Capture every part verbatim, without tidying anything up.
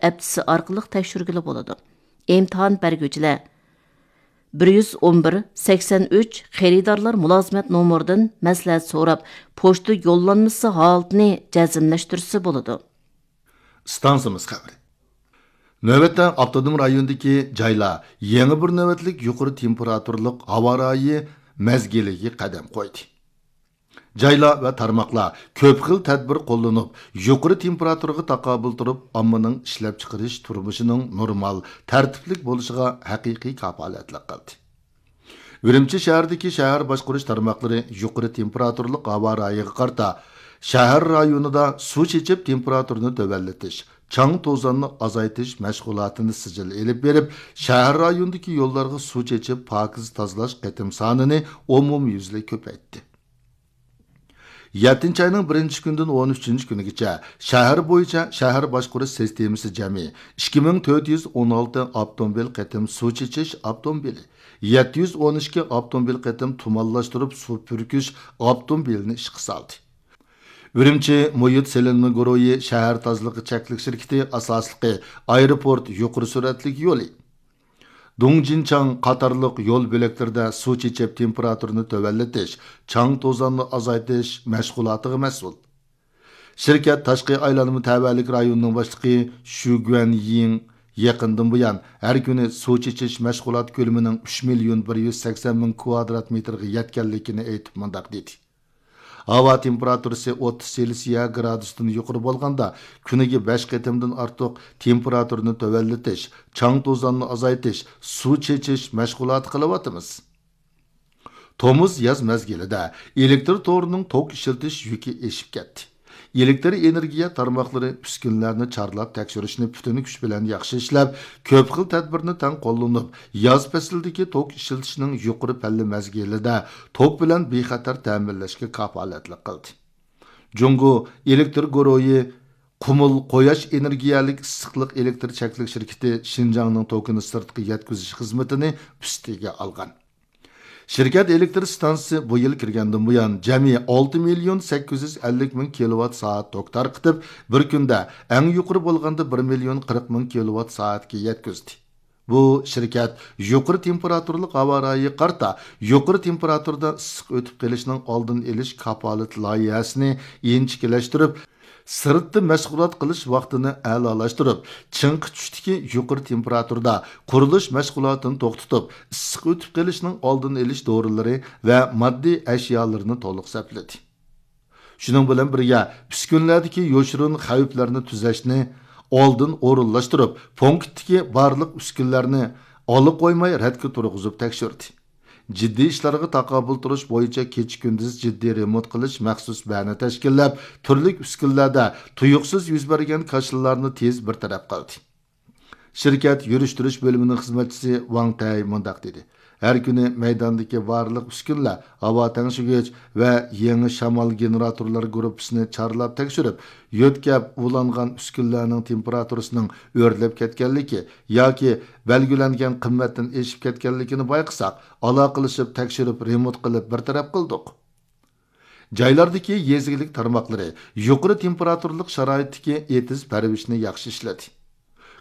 ئەپچىسى ئارقىلىق تەكشۈرگىلى بولىدۇ. ئىمتىھان بەرگۈچىلەر بىر يۈز ئون بىر سەكسەن ئۈچ خېرىدارلار مۇلازىمەت نومۇرىدىن مەسلىھەت سوراپ، پوچتا يوللانمىسى ھالىتىنى جەزملەشتۈرسە بولىدۇ. ئىستانسىمىز خەۋىرى. نۆۋەتتە ئاپتونوم رايوندىكى جايلار يېڭى بىر نۆۋەتلىك يۇقىرى تېمپېراتۇرىلىق ھاۋا رايى مەزگىلىگە قەدەم قويدى. جايلار ۋە تارماقلار كۆپ خىل تەدبىر قوللىنىپ، يۇقىرى تېمپېراتۇرىغا تاقابىل تۇرۇپ، ئاممىنىڭ ئىشلەپچىقىرىش تۇرمۇشىنىڭ نورمال، تەرتىپلىك بولۇشىغا ھەقىقىي كاپالەتلىك قىلدى. ئۈرۈمچى شەھىرىدىكى شەھەر باشقۇرۇش تارماقلىرى يۇقىرى تېمپېراتۇرىلىق ھاۋا رايىغا قارىتا، شەھەر رايونىدا سۇ چېچىپ تېمپېراتۇرىنى تۆۋەنلىتىش، چاڭ توزاننى ئازايتىش مەشغۇلاتىنى سىجىل ئېلىپ بېرىپ، شەھەر رايونىدىكى يوللارغا سۇ چېچىپ پاكىز تازىلاش قېتىم سانىنى ئومۇميۈزلۈك كۆپەيتتى. يەتتىنچى ئاينىڭ بىرىنچى كۈنىدىن ئون ئۈچىنچى كۈنىگىچە شەھەر بويىچە شەھەر باشقۇرۇش سىستېمىسى جەمئىي ئىككى مىڭ تۆت يۈز ئون ئالتە ئاپتوموبىل قېتىم سۇ چېچىش ئاپتوموبىلى، يەتتە يۈز ئون ئىككى ئاپتوموبىل قېتىم تۇمانلاشتۇرۇپ سۇ پۈركۈش ئاپتوموبىلىنى ئىشقا سالدى. ئۈرۈمچى مۇھىت سېلىنما گۇرۇھى شەھەر تازىلىقى چەكلىك شىركىتى ئاساسلىقى ئايروپورت يۇقىرى سۈرئەتلىك يولى، دۇڭجىنچاڭ قاتارلىق يول بۆلەكلىرىدە سۇ چېچىپ تېمپېراتۇرىنى تۆۋەنلىتىش، چاڭ توزاننى ئازايتىش مەشغۇلاتىغا مەسئۇل. شىركەت تاشقى ئايلانما تەۋەلىك رايونىنىڭ باشلىقى شۈ گۈەنيىڭ يېقىندىن بۇيان ھەر كۈنى سۇ چېچىش مەشغۇلات كۆلىمىنىڭ ئۈچ مىليون بىر يۈز سەكسەن مىڭ كۋادرات مېتىرغا يەتكەنلىكىنى ئېيتىپ مۇنداق دېدى: ھاۋا تېمپېراتۇرىسى ئوتتۇز سېلسىيە گرادۇستىن يۇقىرى بولغاندا، كۈنىگە بەش قېتىمدىن ئارتۇق تېمپېراتۇرىنى تۆۋەنلىتىش، چاڭ توزاننى ئازايتىش، سۇ چېچىش مەشغۇلاتى قىلىۋاتىمىز. تومۇز، ياز مەزگىلىدە ئېلېكتر تورىنىڭ توك ئىشلىتىش يۈكى ئېشىپ كەتتى. ئېلېكتر ئېنېرگىيە تارماقلىرى ئۈسكۈنىلەرنى چارلاپ تەكشۈرۈشنى پۈتۈن كۈچ بىلەن ياخشى ئىشلەپ، كۆپ خىل تەدبىرنى تەڭ قوللىنىپ، ياز پەسلىدىكى توك ئىشلىتىشنىڭ يۇقىرى پەللە مەزگىلىدە توك بىلەن بىخەتەر تەمىنلەشكە كاپالەتلىك قىلدى. جۇڭگو ئېلېكتر گۇرۇھى قۇمۇل قۇياش ئېنېرگىيەلىك ئىسسىقلىق ئېلېكتر چەكلىك شىركىتى شىنجاڭنىڭ توكىنى سىرتقا يەتكۈزۈش خىزمىتىنى ئۈستىگە ئالغان. شىركەت ئېلېكتر ئىستانسىسى بۇ يىل كىرگەندىن بۇيان جەمئىي ئالتە مىليون سەككىز يۈز ئەللىك مىڭ كىلوۋات سائەت توك تارقىتىپ، بىر كۈندە ئەڭ يۇقىرى بولغاندا بىر مىليون قىرىق مىڭ كىلوۋات سائەتكە يەتكۈزدى. بۇ شىركەت يۇقىرى تېمپېراتۇرىلىق ھاۋا رايىغا قارىتا يۇقىرى تېمپېراتۇرىدا ئىسسىق ئۆتۈپ قېلىشنىڭ ئالدىنى ئېلىش كاپالىتى لايىھەسىنى ئىنچىكىلەشتۈرۈپ، سىرتتا مەشغۇلات قىلىش ۋاقتىنى ئەلالاشتۇرۇپ، چىڭقى چۈشتىكى يۇقىرى تېمپېراتۇرىدا قۇرۇلۇش مەشغۇلاتىنى توختىتىپ، ئىسسىق ئۆتۈپ قېلىشنىڭ ئالدىنى ئېلىش دورىلىرى ۋە ماددىي ئەشيالىرىنى تولۇق سەپلىدى. شۇنىڭ بىلەن بىرگە، ئۈسكۈنىلەردىكى يوشۇرۇن خەۋپلەرنى تۈزەشنى ئالدىن ئورۇنلاشتۇرۇپ، پونكىتتىكى بارلىق ئۈسكۈنىلەرنى ئالا قويماي رەتكە تۇرغۇزۇپ تەكشۈردى. جىددىي ئىشلارغا تاقابىل تۇرۇش بويىچە كېچە-كۈندۈز جىددىي رېمونت قىلىش مەخسۇس بەنە تەشكىللەپ، تۈرلۈك ئۈسكۈنىلەردە تۇيۇقسىز يۈز بەرگەن كاشىلارنى تېز بىر تەرەپ قىلدى. شىركەت يۈرۈشتۈرۈش بۆلۈمىنىڭ خىزمەتچىسى ۋاڭ تەي مۇنداق دېدى: ھەر كۈنى مەيداندىكى بارلىق ئۈسكۈنىلەر، ھاۋا تەڭشىگۈچ ۋە يېڭى شامال گېنېراتورلار گۇرۇپپىسىنى چارلاپ تەكشۈرۈپ، يۆتكەپ ئۇلانغان ئۈسكۈنىلەرنىڭ تېمپېراتۇرىسىنىڭ ئۆرلەپ كەتكەنلىكى ياكى بەلگىلەنگەن قىممەتتىن ئېشىپ كەتكەنلىكىنى بايقىساق، ئالاقىلىشىپ تەكشۈرۈپ رېمونت قىلىپ بىر تەرەپ قىلدۇق. جايلاردىكى يېزا ئىگىلىك تارماقلىرى يۇقىرى تېمپېراتۇرىلىق شارائىتتىكى ئېتىز پەرۋىشنى ياخشى ئىشلىدى.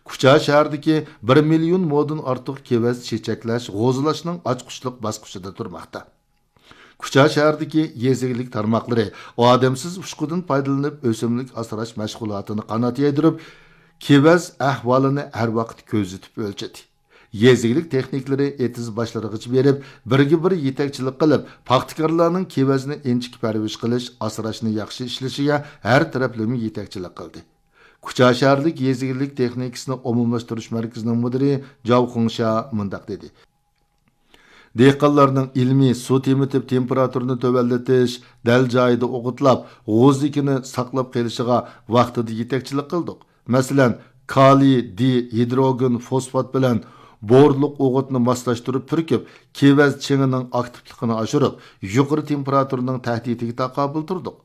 كۇچا شەھىرىدىكى بىر مىليون مودىن ئارتۇق كېۋەز چېچەكلەش، غوزىلاشنىڭ ئاچقۇچلۇق باسقۇچىدا تۇرماقتا. كۇچا شەھىرىدىكى يېزا ئىگىلىك تارماقلىرى ئادەمسىز ئۇچقۇدىن پايدىلىنىپ، ئۆسۈملۈك ئاسراش مەشغۇلاتىنى قانات يايدۇرۇپ، كېۋەز ئەھۋالىنى ھەر ۋاقىت كۆزىتىپ ئۆلچىدى. يېزا ئىگىلىك تېخنىكلىرى ئېتىز باشلىرىغىچە بېرىپ، بىرگە بىر يېتەكچىلىك قىلىپ، پاختىكارلارنىڭ كېۋەزنى ئىنچىكە پەرۋىش قىلىش، ئاسراشنى ياخشى ئىشلىشىگە ھەر تەرەپلىمە يېتەكچىلىك قىلدى. كۇچا شەھەرلىك يېزا ئىگىلىك تېخنىكىسىنى ئومۇملاشتۇرۇش مەركىزىنىڭ مۇدىرى جاۋ خۇڭشيا مۇنداق دېدى: دېھقانلارنىڭ ئىلمىي سۇ تېمىتىپ، تېمپېراتۇرىنى تۆۋەنلىتىش، دەل جايىدا ئوغۇتلاپ، غوزىكىنى ساقلاپ قېلىشىغا ۋاقتىدا يېتەكچىلىك قىلدۇق. مەسىلەن، كالىي دى ھىدروگېن فوسفات بىلەن بورلۇق ئوغۇتنى ماسلاشتۇرۇپ پۈركۈپ، كېۋەز چېڭىنىڭ ئاكتىپلىقىنى ئاشۇرۇپ، يۇقىرى تېمپېراتۇرىنىڭ تەھدىتىگە تاقابىل تۇردۇق.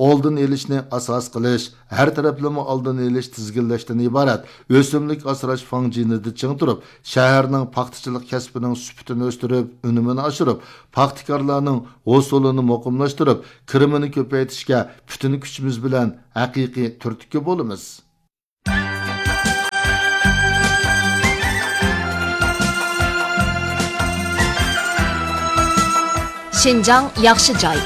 ئالدىنى ئېلىشنى ئاساس قىلىش، ھەر تەرەپلىمە ئالدىنى ئېلىش، تىزگىنلەشتىن ئىبارەت ئۆسۈملۈك ئاسراش فاڭجېنىدا چىڭ تۇرۇپ، شەھەرنىڭ پاختىچىلىق كەسپىنىڭ سۈپىتىنى ئۆستۈرۈپ، ئۈنۈمىنى ئاشۇرۇپ، پاختىكارلارنىڭ ھوسۇلىنى مۇقىملاشتۇرۇپ، كىرىمىنى كۆپەيتىشكە پۈتۈن كۈچىمىز بىلەن ھەقىقىي تۈرتكە بولىمىز. شىنجاڭ ياخشى جاي.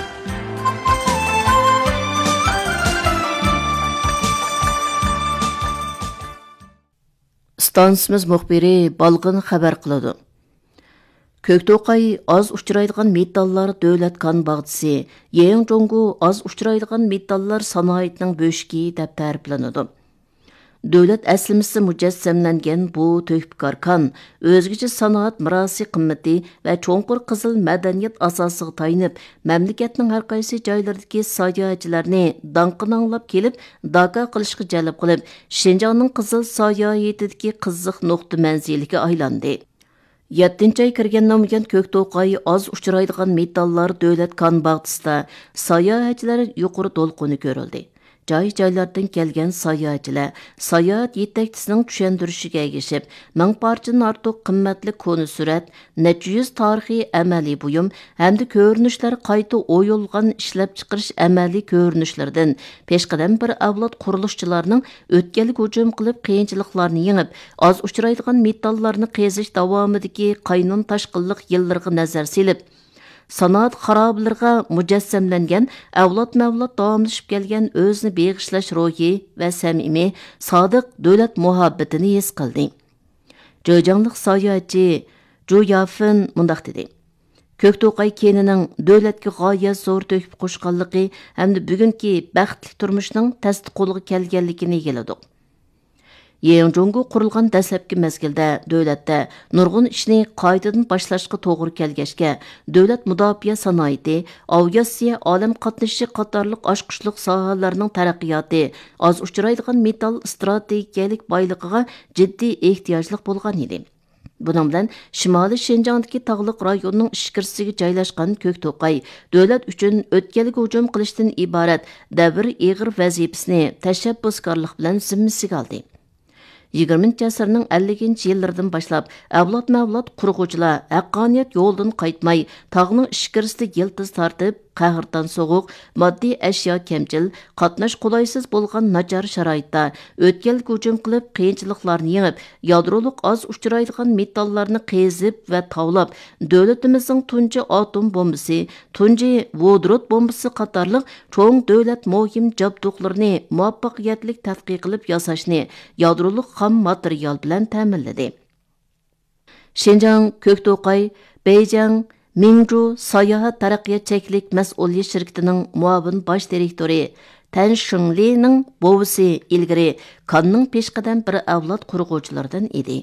ئىستانسىمىز مۇخبىرى بالغىن خەۋەر قىلىدۇ. كۆكتوقاي ئاز ئۇچرايدىغان مېتاللار دۆلەت كان باغچىسى، يېڭجۇڭگو ئاز ئۇچرايدىغان مېتاللار سانائىتىنىڭ بۆشۈكى دەپ تەرىپلىنىدۇ. دۆلەت ئەسلىمىسى مۇجەسسەملەنگەن بۇ تۆھپىكار كان ئۆزگىچە سانائەت مىراسى قىممىتى ۋە چوڭقۇر قىزىل مەدەنىيەت ئاساسىغا تايىنىپ، مەملىكەتنىڭ ھەر قايسى جايلىرىدىكى ساياھەتچىلەرنى داڭقىنى ئاڭلاپ كېلىپ، داكا قىلىشقا جەلپ قىلىپ، شىنجاڭنىڭ قىزىل ساياھىتىدىكى قىزىق نۇقتا مەنزىلىگە ئايلاندى. يەتتىنچى ئاي كىرگەندىن بۇيان، كۆكتوقاي ئاز ئۇچرايدىغان مېتاللار دۆلەت كان باغچىسىدا ساياھەتچىلەر يۇقىرى دولقۇنى كۆرۈلدى. جاي-جايلاردىن كەلگەن ساياھەتچىلەر ساياھەت يېتەكچىسىنىڭ چۈشەندۈرۈشىگە ئەگىشىپ، مىڭ پارچىدىن ئارتۇق قىممەتلىك كونا سۈرەت، نەچچە يۈز تارىخىي ئەمەلىي بۇيۇم ھەمدە كۆرۈنۈشلەر قايتا ئويۇلغان ئىشلەپچىقىرىش ئەمەلىي كۆرۈنۈشلىرىدىن، پېشقەدەم بىر ئەۋلاد قۇرۇلۇشچىلارنىڭ ئۆتكەلگە ھۇجۇم قىلىپ، قىيىنچىلىقلارنى يېڭىپ، ئاز ئۇچرايدىغان مېتاللارنى قېزىش داۋامىدىكى قاينام تاشقىنلىق يىللىرىغا نەزەر سېلىپ، سانائەت خارابىلىرىغا مۇجەسسەملەنگەن ئەۋلادمۇ ئەۋلاد داۋاملىشىپ كەلگەن ئۆزىنى بېغىشلاش روھى ۋە سەمىمىي، سادىق دۆلەت مۇھەببىتىنى ھېس قىلدى. جېجياڭلىق ساياھەتچى جۇ يافېن مۇنداق دېدى: كۆكتوقاي كېنىنىڭ دۆلەتكە غايەت زور تۆھپە قوشقانلىقى ھەمدە بۈگۈنكى بەختلىك تۇرمۇشنىڭ تەستە قولغا كەلگەنلىكىنى ئىگىلىدۇق. يېڭجۇڭگو قۇرۇلغان دەسلەپكى مەزگىلدە دۆلەتتە نۇرغۇن ئىشنى قايتىدىن باشلاشقا توغرا كەلگەچكە، دۆلەت مۇداپىئە سانائىتى، ئاۋىئاتسىيە، ئالەم قاتنىشى قاتارلىق ئاچقۇچلۇق ساھەلەرنىڭ تەرەققىياتى ئاز ئۇچرايدىغان مېتال ئىستراتېگىيەلىك بايلىقىغا جىددىي ئېھتىياجلىق بولغان ئىدى. بۇنىڭ بىلەن شىمالىي شىنجاڭدىكى تاغلىق رايوننىڭ ئىچكىرىسىگە جايلاشقان كۆكتوقاي دۆلەت ئۈچۈن ئۆتكەلگە ھۇجۇم قىلىشتىن ئىبارەت دەۋر ئېغىر ۋەزىپىسىنى تەشەببۇسكارلىق بىلەن زىممىسىگە ئالدى. يىگىرمىنچى ئەسىرنىڭ ئەللىكىنچى يىللىرىدىن باشلاپ، ئەۋلادمۇ ئەۋلاد قۇرغۇچىلار ھەققانىيەت يولىدىن قايتماي، تاغنىڭ ئىچكىرىسىدە يىلتىز تارتىپ، قەھرىتان سوغۇق، ماددىي ئەشيا كەمچىل، قاتناش قولايسىز بولغان ناچار شارائىتتا ئۆتكەلگە ھۇجۇم قىلىپ، قىيىنچىلىقلارنى يېڭىپ، يادرولۇق ئاز ئۇچرايدىغان مېتاللارنى قېزىپ ۋە تاۋلاپ، دۆلىتىمىزنىڭ تۇنجى ئاتوم بومبىسى، تۇنجى ۋودورود بومبىسى قاتارلىق چوڭ دۆلەت مۇھىم جابدۇقلىرىنى مۇۋەپپەقىيەتلىك تەتقىق قىلىپ ياساشنى يادرولۇق خام ماتېرىيال بىلەن تەمىنلىدى. شىنجاڭ كۆكتوقاي بېيجىڭ مىڭجۇ ساياھەت تەرەققىيات چەكلىك مەسئۇلىيەت شىركىتىنىڭ مۇئاۋىن باش دىرېكتورى تەن شېڭلىنىڭ بوۋىسى ئىلگىرى كاننىڭ پېشقەدەم بىر ئەۋلاد قۇرغۇچىلىرىدىن ئىدى.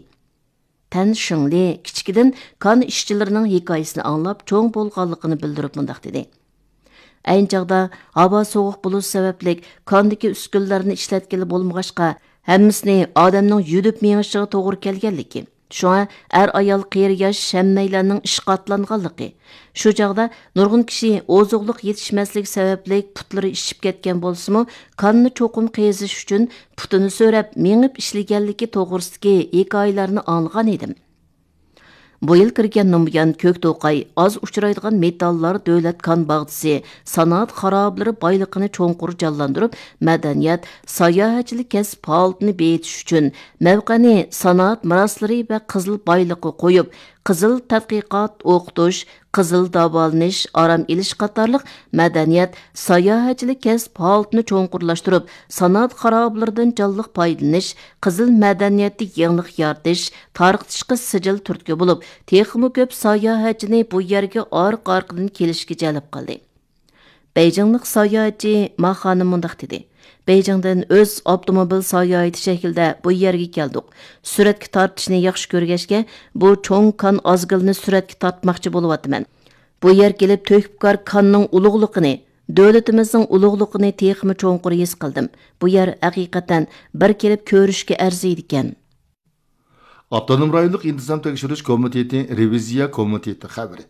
تەن شېڭلى كىچىكىدىن كان ئىشچىلىرىنىڭ ھېكايىسىنى ئاڭلاپ چوڭ بولغانلىقىنى بىلدۈرۈپ مۇنداق دېدى: ئەينى چاغدا ھاۋا سوغۇق بولۇشى سەۋەبلىك كاندىكى ئۈسكۈنىلەرنى ئىشلەتكىلى بولمىغاچقا، ھەممىسىنى ئادەمنىڭ يۈدۈپ مېڭىشىغا توغرا كەلگەنلىكى، شۇڭا ئەر-ئايال، قېرى-ياش ھەممەيلەننىڭ ئىشقا ئاتلانغانلىقى، شۇ چاغدا نۇرغۇن كىشى ئوزۇقلۇق يېتىشمەسلىكى سەۋەبلىك پۇتلىرى ئىششىپ كەتكەن بولسىمۇ، كاننى چوقۇم قېزىش ئۈچۈن پۇتىنى سۆرەپ مېڭىپ ئىشلىگەنلىكى توغرىسىدىكى ھېكايىلەرنى ئاڭلىغان ئىدىم. بۇ يىل كىرگەندىن بۇيان، كۆكتوقاي ئاز ئۇچرايدىغان مېتاللار دۆلەت كان باغچىسى سانائەت خارابىلىرى بايلىقىنى چوڭقۇر جانلاندۇرۇپ، مەدەنىيەت، ساياھەتچىلىك كەسىپ ھالىتىنى بېيىتىش ئۈچۈن مەۋقەنى سانائەت مىراسلىرى ۋە قىزىل بايلىققا قويۇپ، قىزىل تەتقىقات، ئوقۇتۇش، قىزىل داۋالىنىش، ئارام ئېلىش قاتارلىق مەدەنىيەت، ساياھەتچىلىك كەسىپ ھالىتىنى چوڭقۇرلاشتۇرۇپ، سانائەت خارابىلىرىدىن جانلىق پايدىلىنىش، قىزىل مەدەنىيەتتە يېڭىلىق يارىتىش، تارقىتىشقا سىجىل تۈرتكە بولۇپ، تېخىمۇ كۆپ ساياھەتچىنى بۇ يەرگە ئارقا-ئارقىدىن كېلىشكە جەلپ قىلدى. بېيجىڭلىق ساياھەتچى ما خانىم مۇنداق دېدى: بېيجىڭدىن ئۆز ئاپتوموبىل ساياھىتى شەكلىدە بۇ يەرگە كەلدۇق. سۈرەتكە تارتىشنى ياخشى كۆرگەچكە، بۇ چوڭ كان ئازگىلىنى سۈرەتكە تارتماقچى بولۇۋاتىمەن. بۇ يەرگە كېلىپ، تۆھپىكار كاننىڭ ئۇلۇغلۇقىنى، دۆلىتىمىزنىڭ ئۇلۇغلۇقىنى تېخىمۇ چوڭقۇر ھېس قىلدىم. بۇ يەر ھەقىقەتەن بىر كېلىپ كۆرۈشكە ئەرزىيدىكەن. ئاپتونوم رايونلۇق ئىنتىزام تەكشۈرۈش كومىتېتى رېۋىزىيە كومىتېتى خەۋىرى.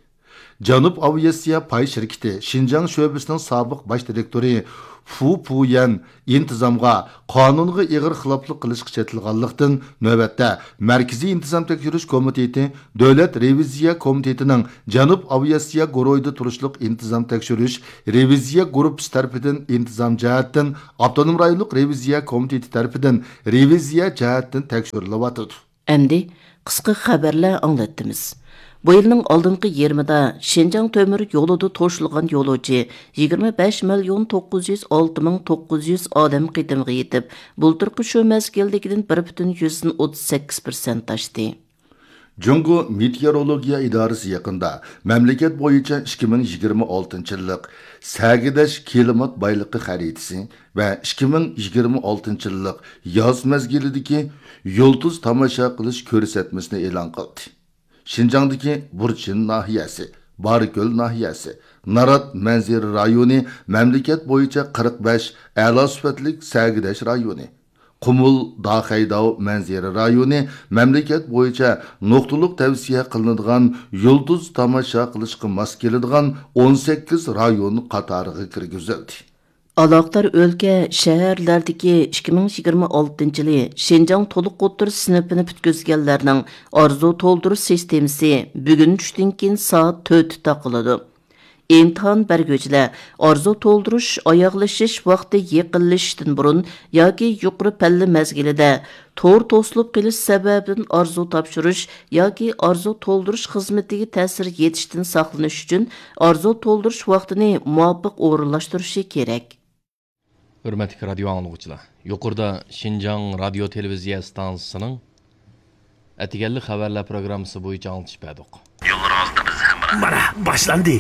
جەنۇب ئاۋىئاتسىيە پاي شىركىتى شىنجاڭ شۆبىسىنىڭ سابىق باش دىرېكتورى فۇ پۇيەن ئىنتىزامغا، قانۇنغا ئېغىر خىلاپلىق قىلىشقا چېتىلغانلىقتىن، نۆۋەتتە مەركىزىي ئىنتىزام تەكشۈرۈش كومىتېتى دۆلەت رېۋىزىيە كومىتېتىنىڭ جەنۇب ئاۋىئاتسىيە گۇرۇھىدا تۇرۇشلۇق ئىنتىزام تەكشۈرۈش رېۋىزىيە گۇرۇپپىسى تەرىپىدىن ئىنتىزام جەھەتتىن ئاپتونوم رايونلۇق رېۋىزىيە كومىتېتى تەرىپىدىن رېۋىزىيە جەھەتتىن تەكشۈرۈلۈۋاتىدۇ. ئەمدى قىسقا خەۋەرلەر ئاڭلاتتىمىز. بۇ يىلنىڭ ئالدىنقى يېرىمىدا شىنجاڭ تۆمۈر يولىدا توشۇلغان يولۇچى يىگىرمە بەش مىليون توققۇز يۈز ئالتە مىڭ توققۇز يۈز ئادەم قېتىمغا يېتىپ، بۇلتۇرقى شۇ مەزگىلدىكىدىن بىر پۈتۈن يۈزدىن ئوتتۇز سەككىز پىرسەنت ئاشتى. جۇڭگو مېتېئورولوگىيە ئىدارىسى يېقىندا مەملىكەت بويىچە ئىككى مىڭ يىگىرمە ئالتىنچى يىللىق سەگىداش كىلىمات بايلىقى خەرىتىسى ۋە ئىككى مىڭ يىگىرمە ئالتىنچى يىللىق ياز مەزگىلىدىكى يۇلتۇز تاماشا قىلىش كۆرسەتمىسىنى ئېلان قىلدى. شىنجاڭدىكى بۇرچىن ناھىيەسى، بارىكۆل ناھىيەسى، نارات مەنزىرە رايونى مەملىكەت بويىچە قىرىق بەش ئەلا سۈپەتلىك سەگىداش رايونى، قۇمۇل، داخەيداۋ مەنزىرە رايونى مەملىكەت بويىچە نۇقتىلىق تەۋسىيە قىلىنىدىغان يۇلتۇز تاماشا قىلىشقا ماس كېلىدىغان ئون سەككىز رايون قاتارىغا كىرگۈزۈلدى. ئالاقىدار ئۆلكە، شەھەرلەردىكى ئىككى مىڭ يىگىرمە ئالتىنچى يىلى شىنجاڭ تولۇق ئوتتۇرا سىنىپىنى پۈتكۈزگەنلەرنىڭ ئارزۇ تولدۇرۇش سىستېمىسى بۈگۈن چۈشتىن كېيىن سائەت تۆتتە تاقىلىدۇ. ئىمتىھان بەرگۈچىلەر ئارزۇ تولدۇرۇش ئاياغلىشىش ۋاقتى يېقىنلىشىشتىن بۇرۇن ياكى يۇقىرى پەللە مەزگىلىدە تور توسۇلۇپ قېلىش سەۋەبىدىن ئارزۇ تاپشۇرۇش ياكى ئارزۇ تولدۇرۇش خىزمىتىگە تەسىر يېتىشتىن ساقلىنىش ئۈچۈن ئارزۇ تولدۇرۇش ۋاقتىنى مۇۋاپىق ئورۇنلاشتۇرۇشى كېرەك. ھۆرمەتلىك رادىيو ئاڭلىغۇچىلار، يۇقىرىدا شىنجاڭ رادىيو تېلېۋىزىيە ئىستانسىسىنىڭ ئەتىگەنلىك خەۋەرلەر پروگراممىسى بويىچە ئاڭلىتىش بەردۇق. يوللىرىڭىزدا بىز ھەمراھ. مانا، باشلاندى.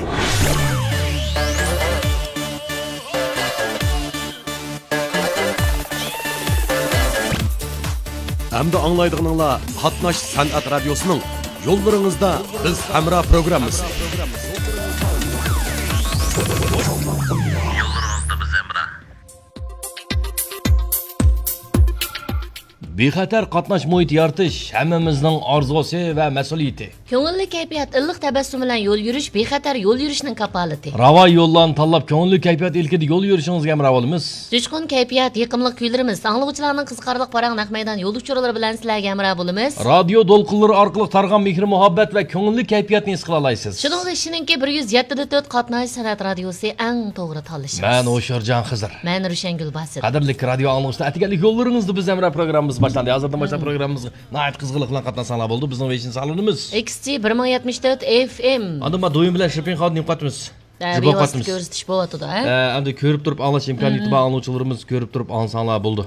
ئەمدى ئاڭلايدىغىنىڭلار قاتناش سەنئەت رادىيوسىنىڭ يوللىرىڭىزدا بىز ھەمراھ پروگراممىسى. يوللىرىڭىزدا بىز ھەمراھ. بىخەتەر قاتناش مۇھىتى يارىتىش ھەممىمىزنىڭ ئارزۇسى ۋە مەسئۇلىيىتى. كۆڭۈللۈك كەيپىيات، ئىللىق تەبەسسۇم بىلەن يول يۈرۈش بىخەتەر يول يۈرۈشنىڭ كاپالىتى. راۋان يوللارنى تاللاپ، كۆڭۈللۈك كەيپىيات ئىلكىدە يول يۈرۈشىڭىزگە ھەمراھ بولىمىز. جۇشقۇن كەيپىيات، يېقىملىق كۈيلىرىمىز، ئاڭلىغۇچىلارنىڭ قىزىقارلىق پاراڭ نەق مەيدان يول ئۇچۇرلىرى بىلەن سىلەرگە ھەمراھ بولىمىز. رادىيو دولقۇنلىرى ئارقىلىق تارىغان مېھىر-مۇھەببەت ۋە كۆڭۈللۈك كەيپىياتنى ھېس قىلالايسىز. شۇنىڭغا ئىشىنىڭكى، بىر يۈز يەتتە دە تۆت قاتناش سەنئەت رادىيوسى ئەڭ توغرا تاللىشىمىز. مەن ھوشيارجان خىزىر. مەن روشەنگۈل باسىت. قەدىرلىك رادىيو ئاڭلىغۇچىلار، ئەتىگەنلىك يوللىرىڭىزدا بىز ھەمراھ پروگراممىمىز باشلاندى. ھازىردىن باشلاپ پروگراممىمىزغا ناھايىتى قىزغىنلىق بىلەن قاتناشساڭلار بولدى. بىزنىڭ ۋېيشىن سانلىرىمىز. ئىكس جى بىر مىڭ يەتمىش تۆت ئېف ئېم. ئاندىن ما دويۇن بىلەن شىرپىن خادىم نېمە قاتىمىز؟ ھە، بىۋاسىتە كۆرسىتىش بولۇۋاتىدۇ، ھە؟ ئە، ئەمدى كۆرۈپ تۇرۇپ ئاڭلاش ئىمكانىيىتى بار ئاڭلىغۇچىلىرىمىز كۆرۈپ تۇرۇپ ئاڭلىساڭلار بولدى.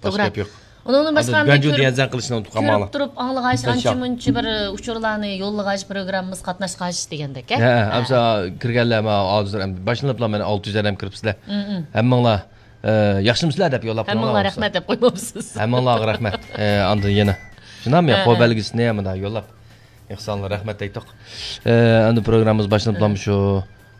باشقا گەپ يوق. ئۇنىڭدىن باشقا ئەمدى گەنجۇ دېگەن زەڭ قىلىشنى ئۇنتۇپ قالماڭلار. كۆرۈپ تۇرۇپ ئاڭلىغاچ، ئانچە مۇنچە بىر ئۇچۇرلارنى يوللىغاچ، پروگراممىمىز قاتناشقاچ دېگەندەك، ھە؟ ھە، ھە. ئەمسە كىرگەنلەر مانا ھازىر ئەمدى باشلىنىپلا مانا ئالتە يۈز ئادەم كىرىپسىلەر. ھەممىڭلار، ئە، ياخشىمۇسىلەر دەپ يوللاپ قويۇڭلار. ھەممىڭلار رەھمەت دەپ قويمامسىز؟ ھەممىڭلارغا رەھمەت. ئە، ئاندىن يەنە شۇنداقمۇ يا، قول بەلگىسىنى مۇنداق يوللاپ. ئېھسانلار، رەھمەت دەيتتۇق. ئە، ئەمدى پروگراممىمىز باشلىنىپلامۇ شۇ،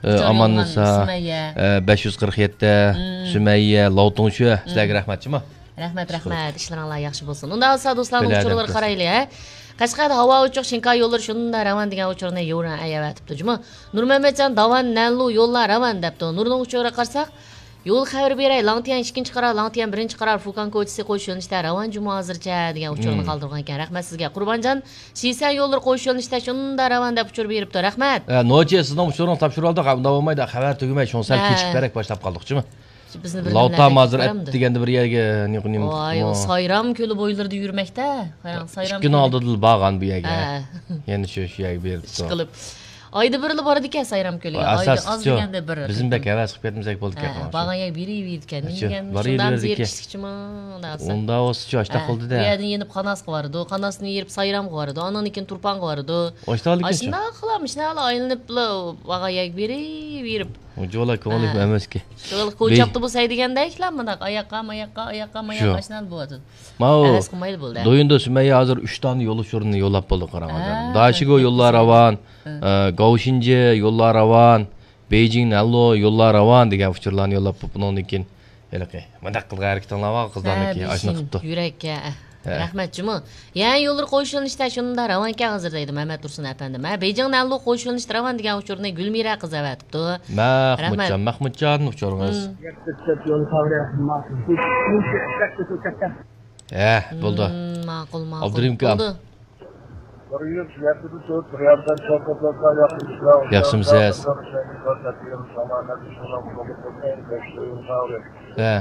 ئە، ئاماننىسا، ئە، بەش يۈز قىرىق يەتتە، سۈمەييە، لاۋتۇڭشۈە، سىلەرگە رەھمەتچىمۇ؟ رەھمەت، رەھمەت. ئىشلىرىڭلار ياخشى بولسۇن. ئۇنداق بولسا دوستلارنىڭ ئۇچۇرلىرىغا قارايلى، ھە. قەشقەردە ھاۋا ئوچۇق، شىنكاي يوللىرى شۇنداق راۋان دېگەن ئۇچۇرنى يورا ئەيەۋەتىپتۇ جۇمۇ. نۇرمەمەتجان داۋان نەنلۇ يوللار راۋان دەپتۇ. نۇرنىڭ ئۇچۇرىغا قارىساق، يول خەۋىرى بېرەي، لاڭتيەن ئىككىنچى قارار، لاڭتيەن بىرىنچى قارار، فۇكان كوچىسى قوش يۆنىلىشتە راۋان جۇمۇ ھازىرچە دېگەن ئۇچۇرنى قالدۇرغان ئىكەن. رەھمەت سىزگە. قۇربانجان، شىسەن يوللىرى قوش يۆنىلىشتە شۇنداق راۋان دەپ ئۇچۇر بېرىپتۇ. رەھمەت. ئە، نوچى، سىزنىڭ ئۇچۇرىڭىزنى تاپشۇرۇۋالدۇق. ئۇنداق بولمايدۇ، خەۋەر تۈگىمەي، شۇڭا سەل كېچىكىپرەك باشلاپ قالدۇق جۇمۇ. بىزنى بىر لاۋتام ھازىر ئەپ دېگەندە بىر يەرگە نېمە، نېمە، ۋاي، ئۇ سايرام كۆلى بويلىرىدا يۈرمەكتە. قاراڭ، سايرام كۆلى. ئىككى كۈن ئالدىدىلا بارغان بۇ يەرگە. ھە. يەنە شۇ، شۇ يەرگە بېرىپتۇ. ئىشقىلىپ. ئايدا بىرلا بارىدىكەن سايرام كۆلىگە. ئايدا ئاز دېگەندە بىر قېتىم. بىزمۇ بەك ھەۋەس قىلىپ كەتمىسەك بولىدىكەن. ھە، بارغان يەرگە بېرىۋېرىدىكەن. نېمە دېگەن، شۇنداق يېرىشلىكچىما، ئۇنداق بولسىچۇ، ئاشتاق قىلدى-دە. بۇ يەردىن يېنىپ قاناسقا بارىدۇ، قاناستىن يېرىپ سايرامغا بارىدۇ، ئاندىن كېيىن تۇرپانغا بارىدۇ. ئاشتاقلىكچۇ. ئاشۇنداقلا، مۇشۇنداقلا ئايلىنىپلا بارغان يەرگە بېرىۋېرىپ. جۇۋالا كۆڭۈل ئەمەسكى. شۇ كوچاقتا بولسا دېگەندەك، مۇنداق ئاياققا، ماياققا، ئاياققا، ماياققا، شۇ. ئاشۇنداق بولىدۇ. ماۋۇ ھەۋەس قىلمايلى بولدى. دويۇندا سۈمەييە ھازىر ئۈچ دانە يول ئۇچۇرىنى يوللاپ بولدى، قاراڭ ھازىر. ھە، داشىگو يوللار راۋان، ئە، گاۋشىنجې يوللار راۋان، بېيجىڭ نەنلۇ يوللار راۋان دېگەن ئۇچۇرلارنى يوللاپ، بۇنىڭدىن كېيىن ھېلىقى مۇنداق قىلغان ھەرىكىتىڭلار بار قىزلارنىڭكى، ھە، ئاشۇنداق قىپتۇ. يۈرەككە، ھە. ھە. رەھمەت جۇمۇ. يەنە يوللىرى قويۇش يۆنىلىشىدە شۇنداق راۋانكەن ھازىر دەيدۇ مەمەت تۇرسۇن ئەپەندىم. ھە، بېيجىڭ نەنلۇ قويۇش يۆنىلىشىدە راۋان دېگەن ئۇچۇرنى گۈلمىرە قىز ئەۋەتىپتۇ. مەھمۇتجان، رەھمەت. مەھمۇتجان، ئۇچۇرىڭىز. مم. ھە، بولدى. مم، ماقۇل، ماقۇل. ئابدۇرېھىم ئاكام. بولدى. ياخشىمۇسىز؟ ھە.